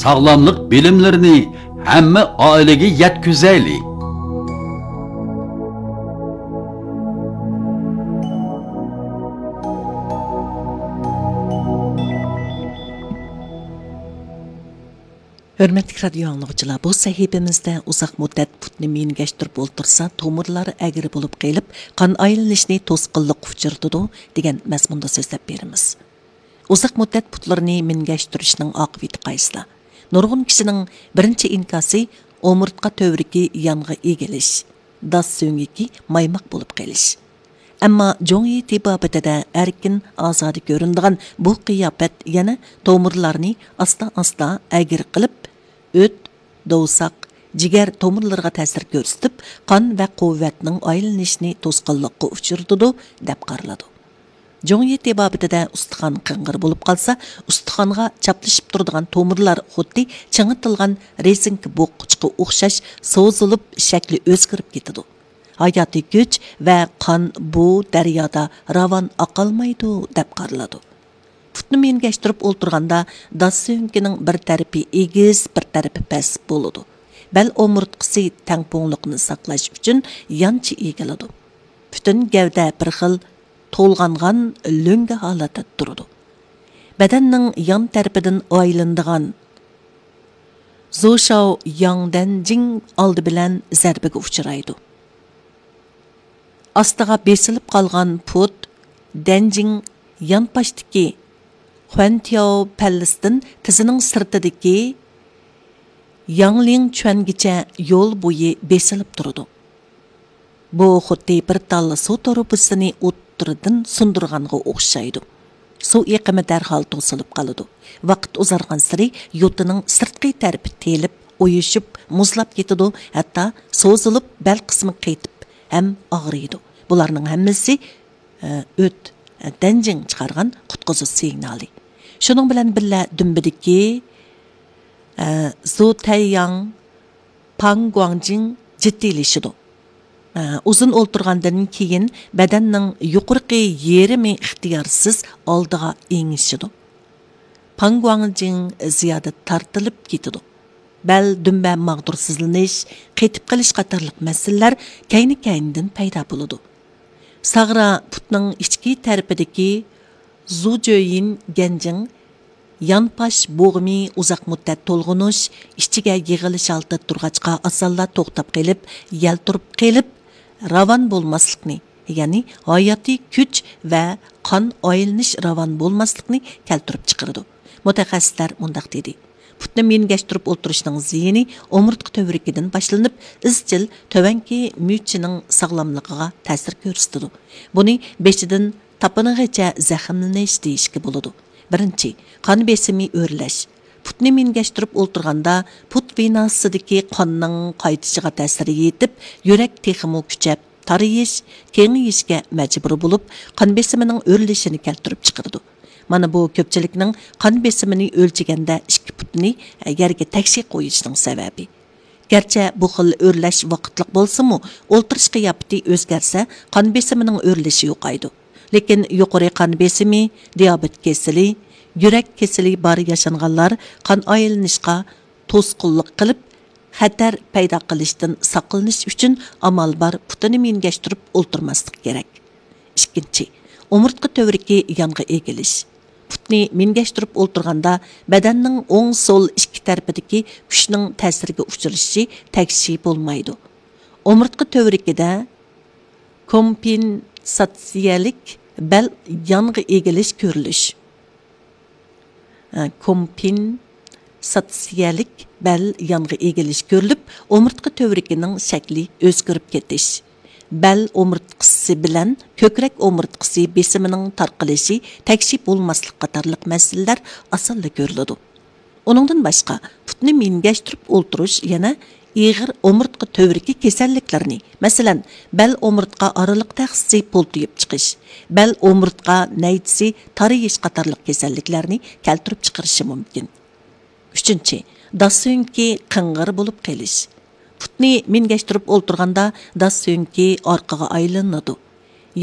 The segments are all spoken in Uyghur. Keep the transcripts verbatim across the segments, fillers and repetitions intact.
ساغلاملىق بىلىملىرىنى ھەممە ئائىلىگە يەتكۈزەيلى! ھۆرمەتلىك رادىيو ئاڭلىغۇچىلار، بۇ سەھىپىمىزدە ئۇزاق مۇددەت پۇتنى مىنگەشتۈرۈپ ئولتۇرسا، تومۇرلار ئەگرى بولۇپ قېلىپ، قان ئايلىنىشنى توسقۇنلۇققا ئۇچرىتىدۇ، دېگەن مەزمۇندا سۆزلەپ بېرىمىز. ئۇزاق مۇددەت پۇتلىرىنى مىنگەشتۈرۈشنىڭ ئاقىۋىتى قايسىلا؟ نۇرغۇن كىشىنىڭ بىرىنچى ئىنكاسى ئومۇرتقا تۈۋرۈكى يانغا ئېگىلىش، داس سۆڭىكى مايماق بولۇپ قېلىش. ئەمما جۇڭيى تېبابىتىدە ئەركىن، ئازادە كۆرۈنىدىغان بۇ قىياپەت يەنە تومۇرلارنى ئاستا-ئاستا ئەگرى قىلىپ، ئۆت، دوۋساق، جىگەر تومۇرلىرىغا تەسىر كۆرسىتىپ، قان ۋە قۇۋۋەتنىڭ ئايلىنىشىنى توسقۇنلۇققا ئۇچرىتىدۇ، دەپ قارىلىدۇ. جۇڭيى تېبابىتىدە ئۇستىخان قىڭغىر بولۇپ قالسا، ئۇستىخانغا چاپلىشىپ تۇرىدىغان تومۇرلار خۇددى چىڭىتىلغان رېزىنكا بوغقۇچقا ئوخشاش سوزۇلۇپ، شەكلى ئۆزگىرىپ كېتىدۇ. ھاياتىي كۈچ ۋە قان بۇ دەريادا راۋان ئاقالمايدۇ، دەپ قارىلىدۇ. پۇتنى مىنگەشتۈرۈپ ئولتۇرغاندا، داس سۆڭىكىنىڭ بىر تەرىپى ئېگىز، بىر تەرىپى پەس بولىدۇ. بەل ئومۇرتقىسى تەڭپۇڭلۇقنى ساقلاش ئۈچۈن يانچە ئېگىلىدۇ. پۈتۈن گەۋدە بىر خىل تولغانغان لۆڭگە ھالەتتە تۇرىدۇ. بەدەننىڭ يان تەرىپىدىن ئايلىنىدىغان زۇشاۋ ياڭدەنجىڭ ئالدى بىلەن زەربىگە ئۇچرايدۇ. ئاستىغا بېسىلىپ قالغان پۇت دەنجىڭ يانپاشتىكى خۇەنتياۋ پەللىسىدىن تىزىنىڭ سىرتىدىكى ياڭلىڭچۈەنگىچە يول بويى بېسىلىپ تۇرىدۇ. بۇ خۇددى بىر تال سۇ تۇرۇبىسىنى ئوتتۇرىدىن سۇندۇرغانغا ئوخشايدۇ. سۇ ئېقىمى دەرھال توسۇلۇپ قالىدۇ. ۋاقىت ئۇزارغانسېرى يوتىنىڭ سىرتقى تەرىپى تېلىپ، ئويۇشۇپ، مۇزلاپ كېتىدۇ، ھەتتا سوزۇلۇپ، بەل قىسمى قېتىپ ھەم ئاغرىيدۇ. بۇلارنىڭ ھەممىسى، ئە، ئۆت، ئە، دەنجىڭ چىقارغان قۇتقۇزۇش سىگنالى. شۇنىڭ بىلەن بىللە، دۈمبىدىكى، ئە، زۇ تەيياڭ پاڭ گۇاڭجىڭ جىددىيلىشىدۇ. ئۇزۇن ئولتۇرغاندىن كېيىن بەدەننىڭ يۇقىرىقى يېرىمى ئىختىيارسىز ئالدىغا ئېڭىشىدۇ. پاڭ گۇاڭجىڭ زىيادە تارتىلىپ كېتىدۇ. بەل، دۈمبە ماغدۇرسىزلىنىش، قېتىپ قېلىش قاتارلىق مەسىلىلەر كەينى-كەينىدىن پەيدا بولىدۇ. ساغرا پۇتنىڭ ئىچكى تەرىپىدىكى زۇجۆيىن گەنجىڭ يانپاش بوغۇمى ئۇزاق مۇددەت تولغىنىش، ئىچىگە يىغىلىش ھالىتىدە تۇرغاچقا، ئاسانلا توختاپ قېلىپ، يەلتۈرۈپ قېلىپ، راۋان بولماسلىقنى، يەنى ھاياتىي كۈچ ۋە قان ئايلىنىش راۋان بولماسلىقنى كەلتۈرۈپ چىقىرىدۇ. مۇتەخەسسىسلەر مۇنداق دېدى: پۇتنى مىنگەشتۈرۈپ ئولتۇرۇشنىڭ زىيىنى ئومۇرتقا تۈۋرۈكىدىن باشلىنىپ، ئىزچىل تۆۋەنكى مۈچىنىڭ ساغلاملىقىغا تەسىر كۆرسىتىدۇ. بۇنى بېشىدىن تاپىنىغىچە زەخىملىنىش دېيىشكە بولىدۇ. بىرىنچى، قان بېسىمى ئۆرلەش. پۇتنى مىنگەشتۈرۈپ ئولتۇرغاندا، پۇت ۋېناسىدىكى قاننىڭ قايتىشىغا تەسىر يېتىپ، يۈرەك تېخىمۇ كۈچەپ، تارىيىش، كېڭىيىشكە مەجبۇر بولۇپ، قان بېسىمىنىڭ ئۆرلىشىنى كەلتۈرۈپ چىقىرىدۇ. مانا بۇ كۆپچىلىكنىڭ قان بېسىمىنى ئۆلچىگەندە ئىككى پۇتىنى يەرگە تەكشى قويۇشىنىڭ سەۋەبى. گەرچە بۇ خىل ئۆرلەش ۋاقىتلىق بولسىمۇ، ئولتۇرۇش قىياپىتى ئۆزگەرسە، قان بېسىمىنىڭ ئۆرلىشى يوقايدۇ. لېكىن يۇقىرى قان بېسىمى، دىيابېت كېسىلى، يۈرەك كېسىلى بار ياشانغانلار قان ئايلىنىشقا توسقۇنلۇق قىلىپ، خەتەر پەيدا قىلىشتىن ساقلىنىش ئۈچۈن ئامال بار پۇتىنى مىنگەشتۈرۈپ ئولتۇرماسلىق كېرەك. ئىككىنچى، ئومۇرتقا تۈۋرۈكى يانغا ئېگىلىش. پۇتنى مىنگەشتۈرۈپ ئولتۇرغاندا، بەدەننىڭ ئوڭ، سول ئىككى تەرىپىدىكى كۈچنىڭ تەسىرگە ئۇچرىشى تەكشى بولمايدۇ. ئومۇرتقا تۈۋرۈكىدە كومپېنساتسىيەلىك بەل يانغا ئېگىلىش كۆرۈلۈش. ئە، كومپېنساتسىيەلىك بەل يانغا ئېگىلىش كۆرۈلۈپ، ئومۇرتقا تۈۋرۈكىنىڭ شەكلى ئۆزگىرىپ كېتىش، بەل ئومۇرتقىسى بىلەن كۆكرەك ئومۇرتقىسى بېسىمىنىڭ تارقىلىشى، تەكشى بولماسلىق قاتارلىق مەسىلىلەر ئاسانلا كۆرۈلىدۇ. ئۇنىڭدىن باشقا، پۇتنى مىنگەشتۈرۈپ ئولتۇرۇش يەنە ئېغىر ئومۇرتقا تۈۋرۈكى كېسەللىكلىرىنى، مەسىلەن، بەل ئومۇرتقا ئارىلىق تەخسىسى پولتىيىپ چىقىش، بەل ئومۇرتقا نەيچىسى تارىيىش قاتارلىق كېسەللىكلەرنى كەلتۈرۈپ چىقىرىشى مۇمكىن. ئۈچىنچى، داس سۆڭىكى قىڭغىر بولۇپ قېلىش. پۇتنى مىنگەشتۈرۈپ ئولتۇرغاندا داس سۆڭىكى ئارقىغا ئايلىنىدۇ.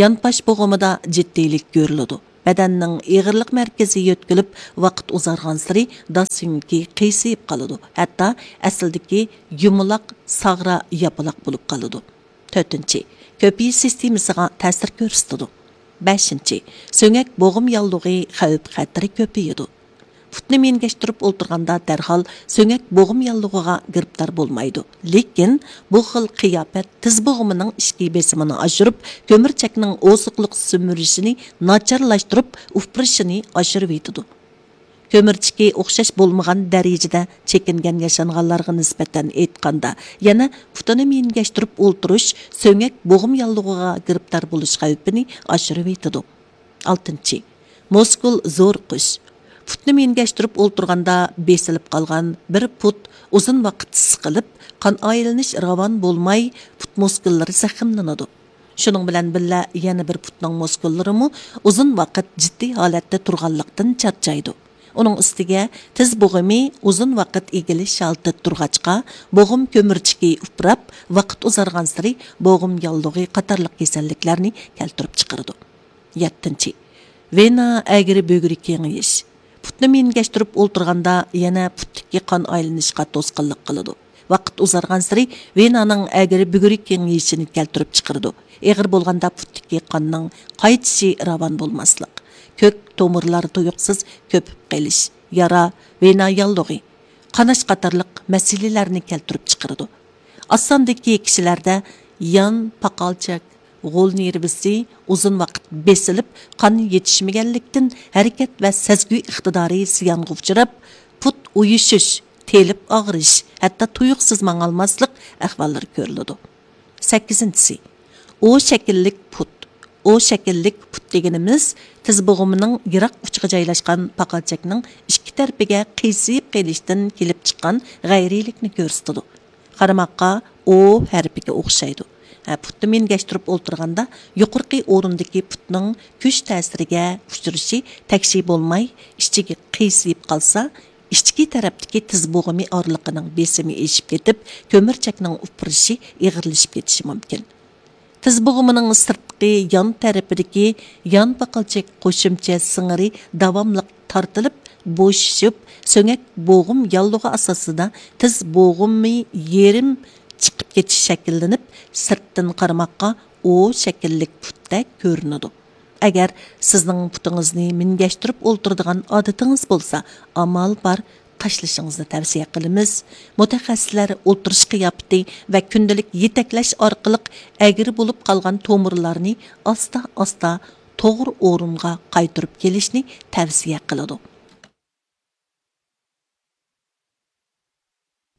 يانپاش بوغۇمىدا جىددىيلىك كۆرۈلىدۇ. بەدەننىڭ ئېغىرلىق مەركىزى يۆتكىلىپ، ۋاقىت ئۇزارغانسېرى داس سۆڭىكى قىيسىيىپ قالىدۇ، ھەتتا ئەسلىدىكى يۇمىلاق ساغرا ياپىلاق بولۇپ قالىدۇ. تۆتىنچى، كۆپىيىش سىستېمىسىغا تەسىر كۆرسىتىدۇ. بەشىنچى، سۆڭەك بوغۇم ياللۇغى خەۋپ خەتىرى كۆپىيىدۇ. پۇتنى مىنگەشتۈرۈپ ئولتۇرغاندا دەرھال سۆڭەك بوغۇم ياللۇغىغا گىرىپتار بولمايدۇ. لېكىن بۇ خىل قىياپەت تىز بوغۇمىنىڭ ئىچكى بېسىمىنى ئاشۇرۇپ، كۆمۈرچەكنىڭ ئوزۇقلۇق سۈمۈرۈشىنى ناچارلاشتۇرۇپ، ئۇپرىشىنى ئاشۇرۇۋېتىدۇ. كۆمۈرچىكى ئوخشاش بولمىغان دەرىجىدە چېكىنگەن ياشانغانلارغا نىسبەتەن ئېيتقاندا، يەنە پۇتىنى مىنگەشتۈرۈپ ئولتۇرۇش سۆڭەك بوغۇم ياللۇغىغا گىرىپتار بولۇش خەۋپىنى ئاشۇرۇۋېتىدۇ. ئالتىنچى، مۇسكۇل زورۇقۇش. پۇتنى مىنگەشتۈرۈپ ئولتۇرغاندا بېسىلىپ قالغان بىر پۇت ئۇزۇن ۋاقىت سىقىلىپ، قان ئايلىنىش راۋان بولماي، پۇت مۇسكۇللىرى زەخىملىنىدۇ. شۇنىڭ بىلەن بىللە، يەنە بىر پۇتنىڭ مۇسكۇللىرىمۇ ئۇزۇن ۋاقىت جىددىي ھالەتتە تۇرغانلىقتىن چارچايدۇ. ئۇنىڭ ئۈستىگە تىز بوغۇمى ئۇزۇن ۋاقىت ئېگىلىش ھالىتىدە تۇرغاچقا، بوغۇم كۆمۈرچىكى ئۇپراپ، ۋاقىت ئۇزارغانسېرى بوغۇم ياللۇغى قاتارلىق كېسەللىكلەرنى كەلتۈرۈپ چىقىرىدۇ. يەتتىنچى، ۋېنا ئەگرى بۈگرى كېڭىيىش. پۇتنى مىنگەشتۈرۈپ ئولتۇرغاندا يەنە پۇتتىكى قان ئايلىنىشقا توسقۇنلۇق قىلىدۇ. ۋاقىت ئۇزارغانسېرى ۋېنانىڭ ئەگرى بۈگرى كېڭىيىشىنى كەلتۈرۈپ چىقىرىدۇ. ئېغىر بولغاندا پۇتتىكى قاننىڭ قايتىشى راۋان بولماسلىق، كۆك تومۇرلار تۇيۇقسىز كۆپۈپ قېلىش، يارا، ۋېنا ياللۇغى، قاناش قاتارلىق مەسىلىلەرنى كەلتۈرۈپ چىقىرىدۇ. ئاز ساندىكى كىشىلەردە يان پاقالچاك، غول نېرۋىسى ئۇزۇن ۋاقىت بېسىلىپ، قان يېتىشمىگەنلىكتىن، ھەرىكەت ۋە سەزگۈ ئىقتىدارى زىيانغا ئۇچراپ، پۇت ئۇيۇشۇش، تېلىپ ئاغرىش، ھەتتا تۇيۇقسىز ماڭالماسلىق ئەھۋاللىرى كۆرۈلىدۇ. سەككىزىنچىسى، ئو شەكىللىك پۇت. ئو شەكىللىك پۇت دېگىنىمىز تىز بوغۇمىنىڭ يىراق ئۇچىغا جايلاشقان پاقالچاكنىڭ ئىككى تەرىپىگە قىيسىيىپ قېلىشتىن كېلىپ چىققان غەيرىيلىكنى كۆرسىتىدۇ. قارىماققا ئو ھەرپىگە ئوخشايدۇ. ھە، پۇتنى مىنگەشتۈرۈپ ئولتۇرغاندا يۇقىرىقى ئورۇندىكى پۇتنىڭ كۈچ تەسىرىگە ئۇچرىشى تەكشى بولماي، ئىچىگە قىيسىيىپ قالسا، ئىچكى تەرەپتىكى تىز بوغۇمى ئارىلىقىنىڭ بېسىمى ئېشىپ كېتىپ، كۆمۈرچەكنىڭ ئۇپرىشى ئېغىرلىشىپ كېتىشى مۇمكىن. تىز بوغۇمىنىڭ سىرتقى يان تەرىپىدىكى يان پاقالچاك قوشۇمچە سىڭىرى داۋاملىق تارتىلىپ، بوشىشىپ، سۆڭەك بوغۇم ياللۇغى ئاساسىدا تىز بوغۇمى يېرىم چىقىپ كېتىش شەكىللىنىپ، سىرتتىن قارىماققا ئو شەكىللىك پۇتتەك كۆرۈنىدۇ. ئەگەر سىزنىڭ پۇتىڭىزنى مىنگەشتۈرۈپ ئولتۇرىدىغان ئادىتىڭىز بولسا، ئامال بار تاشلىشىڭىزنى تەۋسىيە قىلىمىز. مۇتەخەسسىسلەر ئولتۇرۇش قىياپىتى ۋە كۈندىلىك يېتەكلەش ئارقىلىق ئەگرى بولۇپ قالغان تومۇرلارنى ئاستا-ئاستا توغرا ئورۇنغا قايتۇرۇپ كېلىشنى تەۋسىيە قىلىدۇ.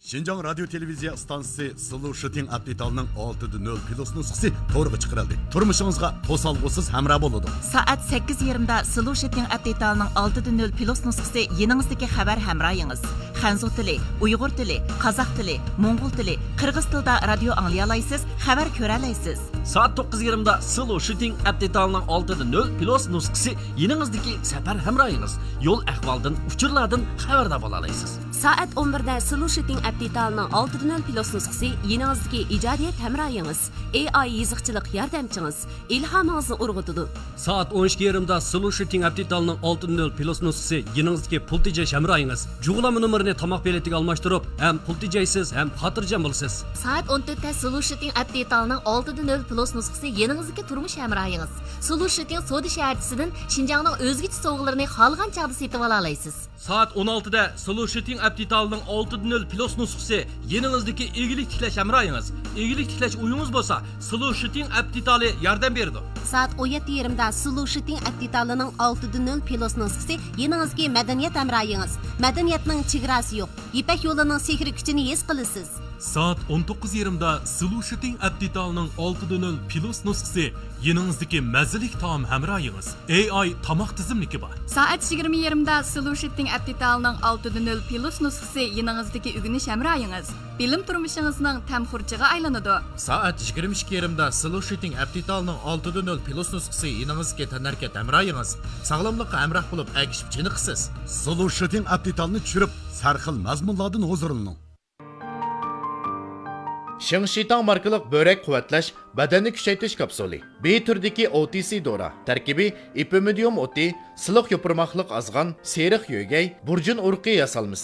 شىنجاڭ رادىيو تېلېۋىزىيە ئىستانسىسى سلۇشىتىڭ ئەپ دېتالنىڭ ئالتە دە نۆل پلۇس نۇسخىسى تورغا چىقىرىلدى. تۇرمۇشىڭىزغا توسالغۇسىز ھەمراھ بولىدۇ. سائەت سەككىز يېرىمدا سلۇشىتىڭ ئەپ دېتالنىڭ ئالتە دە نۆل پلۇس نۇسخىسى يېنىڭىزدىكى خەۋەر ھەمراھىڭىز. خەنزۇ تىلى، ئۇيغۇر تىلى، قازاق تىلى، موڭغۇل تىلى، قىرغىز تىلىدا رادىيو ئاڭلىيالايسىز، خەۋەر كۆرەلەيسىز. سائەت توققۇز يېرىمدا سلۇشىتىڭ ئەپ دېتالنىڭ ئالتە دە نۆل پلۇس نۇسخىسى يېنىڭىزدىكى سەپەر ھەمراھىڭىز. يول ئەھۋالدىن، ئۇچۇرلاردىن خەۋەردار بولالايسىز. سائەت ئون بىردە سلۇشىتىڭ ئەپ دېتالنىڭ ئالتە دە نۆل پلۇس نۇسخىسى يېنىڭىزدىكى ئىجادىيەت ھەمراھىڭىز، ئېي ئاي يېزىقچىلىق ياردەمچىڭىز، ئىلھامىڭىزنى ئۇرغۇتىدۇ. سائەت ئون ئىككى يېرىمدا سلۇشىتىڭ ئەپ دېتالنىڭ ئالتە دە نۆل پلۇس نۇسخىسى يېنىڭىزدىكى پۇل تېجەش ھەمراھىڭىز. جۇغلانما نومۇرىنى تاماق بېلىتىگە ئالماشتۇرۇپ، ھەم پۇل تېجەيسىز، ھەم خاتىرجەم بولىسىز. سائەت ئون تۆتتە سلۇشىتىڭ ئەپ دېتالنىڭ ئالتە دە نۆل پلۇس نۇسخىسى يېنىڭىزدىكى تۇرمۇش ھەمراھىڭىز. سلۇشىتىڭ سودا شەھەرچىسىدىن شىنجاڭنىڭ ئۆزگىچە سوۋغىلىرىنى خالىغان چاغدا سېتىۋالالايسىز. سائەت ئون ئالتىدە سلۇشىتىڭ ئەپ دېتالىنىڭ ئالتە دە نۆل پلۇس نۇسخىسى يېنىڭىزدىكى ئىگىلىك تىكلەش ھەمراھىڭىز. ئىگىلىك تىكلەش ئويىڭىز بولسا، سلۇشىتىڭ ئەپ دېتالى ياردەم بېرىدۇ. سائەت ئون يەتتە يېرىمدا سلۇشىتىڭ ئەپ دېتالىنىڭ ئالتە دە نۆل پلۇس نۇسخىسى يېنىڭىزدىكى مەدەنىيەت ھەمراھىڭىز. مەدەنىيەتنىڭ چېگراسى يوق. يىپەك يولىنىڭ سېھرىي كۈچىنى ھېس قىلىسىز. سائەت ئون توققۇز يېرىمدا سلۇشىتىڭ ئەپ دېتالىنىڭ ئالتە دە نۆل پلۇس نۇسخىسى يېنىڭىزدىكى مەززىلىك تائام ھەمراھىڭىز. ئېي ئاي تاماق تىزىملىكى بار. سائەت يىگىرمە يېرىمدا سلۇشىتىڭ ئەپ دېتالىنىڭ ئالتە دە نۆل پلۇس نۇسخىسى يېنىڭىزدىكى ئۆگىنىش ھەمراھىڭىز. بىلىم تۇرمۇشىڭىزنىڭ تەم خۇرجىغا ئايلىنىدۇ. سائەت يىگىرمە ئىككى يېرىمدا سلۇشىتىڭ ئەپ دېتالىنىڭ ئالتە دە نۆل پلۇس نۇسخىسى يېنىڭىزدىكى تەنھەرىكەت ھەمراھىڭىز. ساغلاملىققا ھەمراھ بولۇپ، ئەگىشىپ چېنىقىسىز. سلۇشىتىڭ ئەپ دېتالنى چۈشۈرۈپ، سەرخىل مەزمۇنلاردىن ھۇزۇرلىنىڭ. شىڭشىتاڭ ماركىلىق بۆرەك قۇۋۋەتلەش، بەدەننى كۈچەيتىش كاپسۇلى. بى تۈرىدىكى ئو تى سى دورا. تەركىبى ئېپىمىدىيۇم ئوتى، سىلىق يوپۇرماقلىق ئازغان، سېرىق يۆگەي، بۇرجۇن ئۇرۇقى ياسالمىسى.